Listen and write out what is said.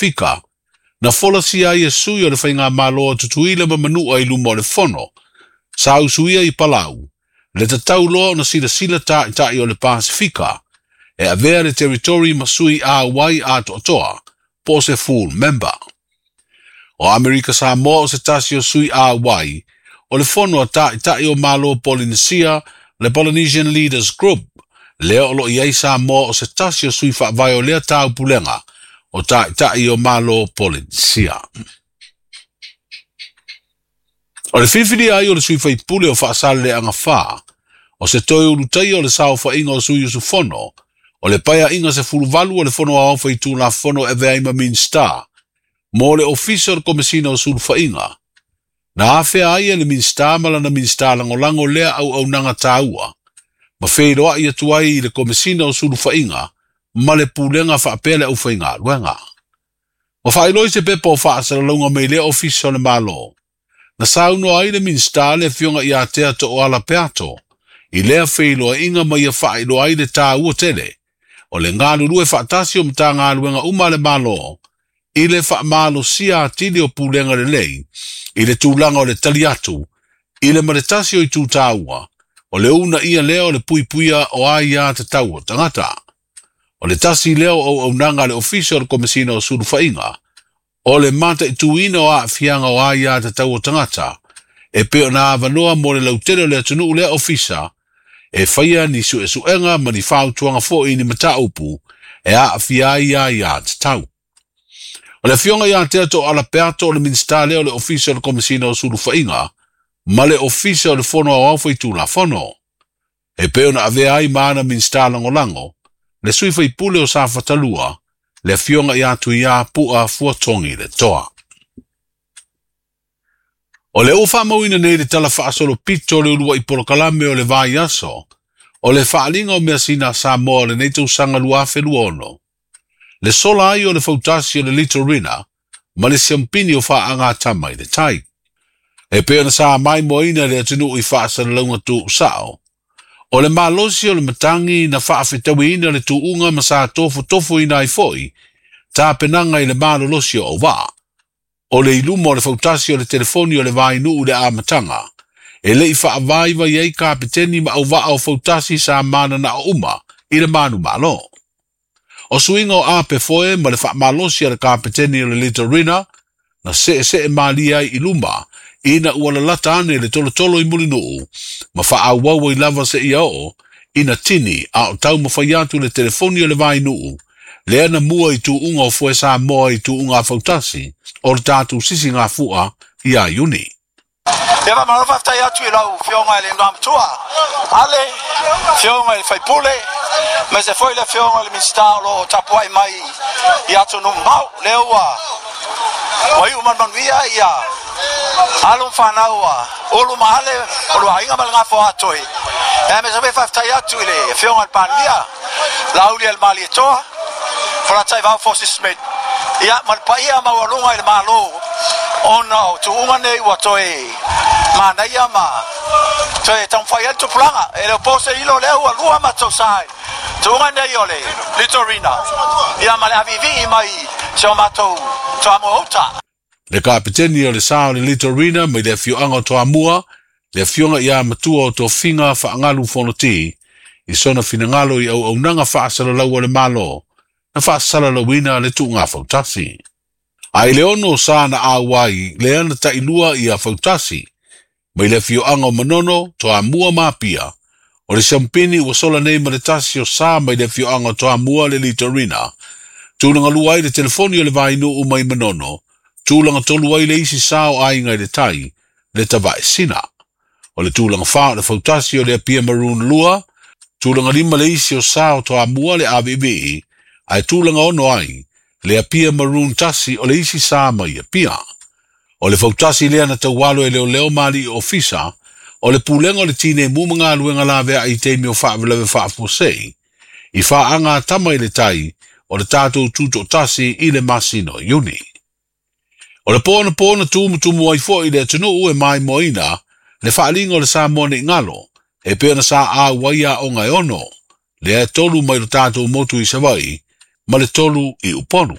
Pasefika, na folasia ai e sui o le Faigamalo a Tutuila ma Manua i luma o le Fono, sa usuia i Palau, le tatau loa ona silasila taitai o le Pasefika, e avea le territory ma sui auai atoatoa, po o se full member. O Amerika Samoa o se tasi o sui auai, o le fono a taitai o Malo Polynesia, le Polynesian Leaders Group, lea o lo o i ai Samoa o se tasi o sui faavae o lea taupulega o taitai o Malo Polynesia. O le filifilia ai o le sui faipule o Faasaleleaga 4, o se toe ulutaia o le saofaiga o sui usufono, o le paeaiga 18 o le Fono Aoao Faitulafono e avea ai ma Minisita, mo le Ofisa o le Komesina o Sulufaiga. Na afea ai e le Minisita ma lana Minisita lagolago lea auaunaga taua, ma feiloai atu ai i le Komesina o Sulufaiga ma le Pulega faapea le aufaigaluega. Ua faailoa i se pepa o faasalalauga mai lea Ofisa o le Malo, na saunoa ai le Minisita le Afioga ia Tea Tooala Peato i lea feiloaiga ma ia faailoa ai le taua tele o le galulue faatasi o Matagaluega uma a le Malo i le faamalosia atili o pulega lelei i le tulaga o le tali atu i le ma le tasi o itu taua o le uunaia lea o le puipuia o aia tatau o tagata. O le tasi lea o auaunaga a le Ofisa o le Komesina o Sulufaiga, o le mataituina o aafiaga o aia tatau o tagata, e pei ona avanoa mo le lautele o le atunuu lea ofisa, e faia ni suesuega ma ni fautuaga foi i ni mataupu e aafia ai aia tatau. O le Afioga ia Tea Tooala Peato o le Minisita lea o le Ofisa o le Komesina o Sulufaiga ma le Ofisa o le Fono Aoao Faitulafono. E pei ona avea ai ma ana Minisita lagolago, le sui faipule o Safatalua, le Afioga ia Tuia Pu'a Fuatogi le Toa. O le ua faamauina nei le tala faasolopito o le uluai polokalame o le vaiaso, o le faaaliga o measina a Samoa o lenei tausaga 2026, le sola ai o le fautasi o le Litorina ma le siampini o faagatama i le tai. E pei ona sa maimoaina le atunuu i faasalalauga tuusao, o le malosi o le matagi na faafetauiina le tuuga ma sa tofotofoina ai foi tapenaga i le malolosi o auvaa. O le iluma o le fautasi o le telefoni o le vainuu i le amataga, e le i faavaivai ai kapeteni ma auvaa o fautasi sa mananao uma i le manumalo. O suiga o ape foe ma le faamalosi a le kapeteni o le Litorina, na seesee malie ai i luma, ina ua lalata ane le tolotolo i Mulinuu, ma faaauau ai lava seia oo, ina tini a o taumafai atu le telefoni o le vainuu, lea na mua i tuuga o foe Samoa i tuuga a fautasi o le tatou sisigafua ia Iuni. Ia faamalo faafetai atu i lau Afioga i le Igoamatua Ale, Afioga i le Faipule, aemaise foi le Afioga i le Minisita o lo o tapuai mai i atunuu mamao. Lea ua ua iu ma le manuia ia alo ma fanau a Ulu ma Ale o lua aiga ma le Gafa o Atoe. Aemaise foi faafetai atu i le Afioga i le Palemia, Laauli Malietoa, Falataivao Forces Smith, ia ma le paia maualuga i le Malo ona o tuuga nei ua toe manaia ma toe taumafai ai le tupulaga. E le o po se ilo lea ua lua matou sa i tuuga nei o le Litorina, ia ma le aviivii mai si o matou Toamua uta. Le kapeteni o le sa o le Litorina mai le afioaga o Toamua, le afioga ia Matua o Tofiga Faagalu Fonoti, i sona finagalo i auaunaga faasalalau a le Malo, na faasalalauina le tuuga fautasi. A i le 6 sa na auai, lea na tailua ia fautasi, mai le afioaga o Manono, Toamua ma Apia, o le siampini ua sola nei ma le tasi o sa mai le afioaga o Toamua le Litorina, tulaga lua ai le telefoni o le vainuu mai Manono, tulaga tolu ai le isi sa o aiga i le tai, le Tavaesina. O le tulaga 4 o le fautasi o le Apia Maroon 2, tulaga 5 le isi o sa o Toamua le AVV, ae tulaga 6 ai, le Apia Maroon 1 o le isi sa mai Apia. O le fautasi lea na taualo e leoleo ma alii ofisa, o le pulega o le tinei mu ma galuega lavea i taimi o faavelave faafuasei, i faaga tama i le tai o le tatou tutoatasi i le masina o Iuni. O le pona pona tumutumu ai foi i le atunuu e maimoaina le faaaliga o le Samoa nei galo, e pei ona sa auai aoga e 6, lea e 3 mai lo tatou motu i Savaii, ma le 3 i Upolu.